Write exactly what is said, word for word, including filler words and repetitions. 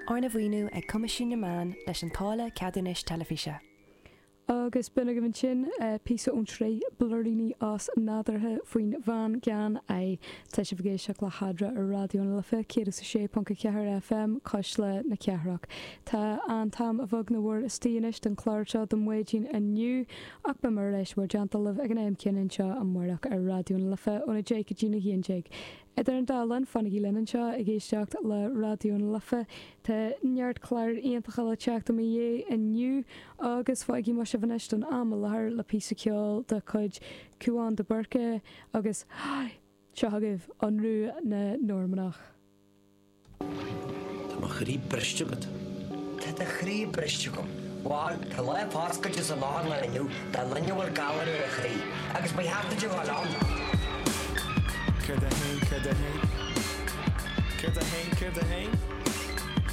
Arna mhaoiniú ag Coimisiún na Meán leis an táille ceadúnais teilifíse. Agus b'in agaibh ansin píosa ón tsraith Blúiríní Osnádúrtha faoin bhean gan aghaidh. Tá sibh ag éisteacht le hEadra ar Raidió na Life céad is a sé ponc a ceathair FM, Cuisle na Cathrach. Tá an t-am a bheag nó a mhór istigh anois don chlár seo don mhaidin inniu ach beidh mé ar ais bhur dteannta libh ag an am céanna anseo amárach ar Raidió na Life óna deich go dtí na haon déag. Idir an dá linn, fanaigí linn anseo ag éisteacht le Raidió na Life. Tá neart cláir iontacha le teacht i mo dhiaidh inniu agus fágfaidh mé sibh anois don am i láthair le píosa ceoil de chuid Cúán de Búrca agus seo agaibh Ionradh na Normannach. Tá mo chroí briste agat. Tá do chroí briste agam. Bhuel, tá lá foscailte san otharlann inniu do dhuine a bhfuil galar ar a chroí, agus ba cheart duit a dhul ann. Céard a haon, céard a haon? Céard a haon, céard a haon?